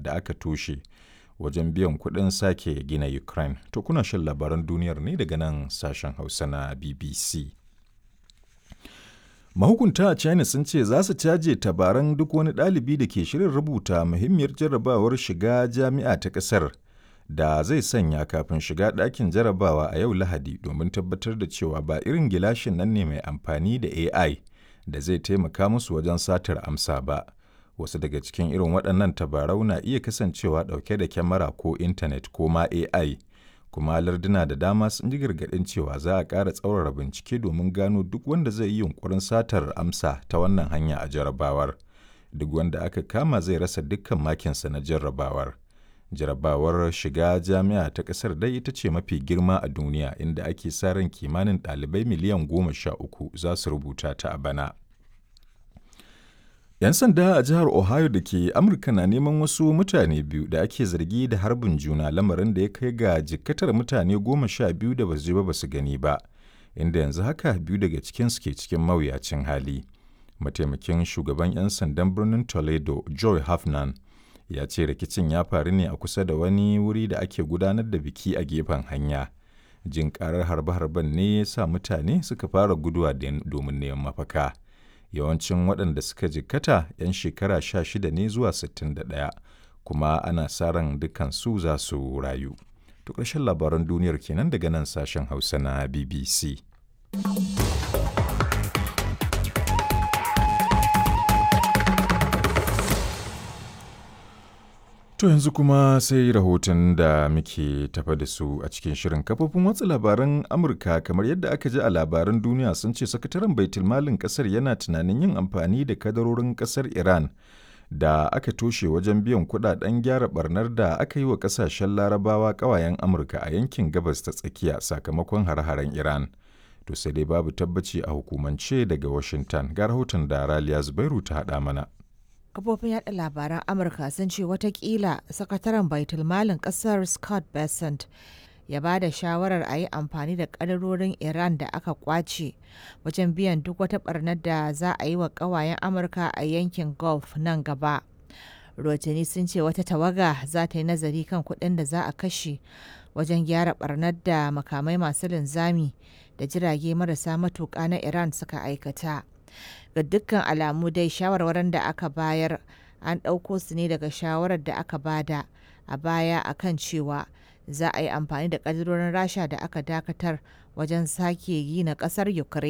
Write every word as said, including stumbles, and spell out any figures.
da aka toshe wajen biyan kuɗin sake gina Ukraine. To kuna shan labaran duniyar ne daga nan sashen Hausa na B B C. Mahukunta a China sun ce za su caje tabaran duk wani ɗalibi da ke shirin rubuta muhimmiyar jarrabawar shiga jami'a ta ƙasar da zai sanya kafin shiga ɗakin jarabawa a yau Lahadi domin tabbatar da cewa ba irin gilashin nan ne mai amfani da A I da zai taimaka musu wajen satar amsa ba. Wasu daga cikin irin waɗannan tabarau na iya kasancewa ɗauke da kyamara ko intanet ko ma A I. Kuma larduna da dama sun ji gargaɗin cewa za a ƙara tsaurara bincike domin gano duk wanda zai yi yunƙurin satar amsa ta wannan hanya a jarrabawar. Duk wanda aka kama zai rasa dukkan makinsa na jarrabawar. Jarrabawar shiga jami'a ta ƙasar dai ita ce mafi girma a duniya, inda ake sa ran kimanin ɗalibai miliyan goma sha uku za su rubuta ta a bana. 'Yan sanda a jihar Ohio da ke Amurka na neman wasu mutane biyu da ake zargi da harbin juna, lamarin da ya kai ga jikkatar mutane goma sha biyu da basu ji ba basu gani ba, inda yanzu haka biyu daga cikinsu ke cikin mawuyacin hali. Mataimakin shugaban 'yan sandan birnin Toledo, Joy Hafnan, ya ce rikicin ya faru ne a kusa da wani wuri da ake gudanar da biki a gefen hanya. Jin karar harbe-harben ne ya sa mutane suka fara guduwa domin neman mafaka. Yawancin waɗanda suka jikkata 'yan shekara sha shida ne zuwa sittin da ɗaya, kuma ana sa ran dukansu za su rayu. To, ƙarshen labaran duniyar kenan daga nan sashen Hausa na B B C. To yanzu kuma sai rahoton da muke tafa da su a cikin shirin. Kafofin watsa labaran Amurka, kamar yadda aka ji a labaran duniya, sun ce sakataren baitulmalin kasar yana tunanin yin amfani da kadarorin kasar Iran da aka toshe wajen biyan kudaden gyara barnar da aka yi wa kasashen Larabawa kawayen Amurka a yankin Gabas ta Tsakiya sakamakon hare-haren Iran. To sai dai babu tabbaci a hukumance daga Washington. Ga rahoton da Raliya Zubairu ta haɗa mana. Kafofin yada labaran Amurka sun ce watakila sakataren baitulmalin kasar Scott Bessent ya ba da shawarar a yi amfani da kadarorin Iran da aka kwace wajen biyan duk wata barnar da za a yi wa kawayen Amurka a yankin Gulf nan gaba. Rotani sun ce wata tawaga za ta yi nazari kan kuɗin da za a kashe wajen gyara barnar da makamai masu linzami da jirage marasa matuƙa na Iran suka aikata. Ga dukkan alamu dai, shawarwarin da aka bayar an ɗauko su ne daga shawarar da aka bada a baya akan cewa za a yi amfani da ƙadirorin Rasha da aka dakatar wajen sake gina ƙasar Ukraine.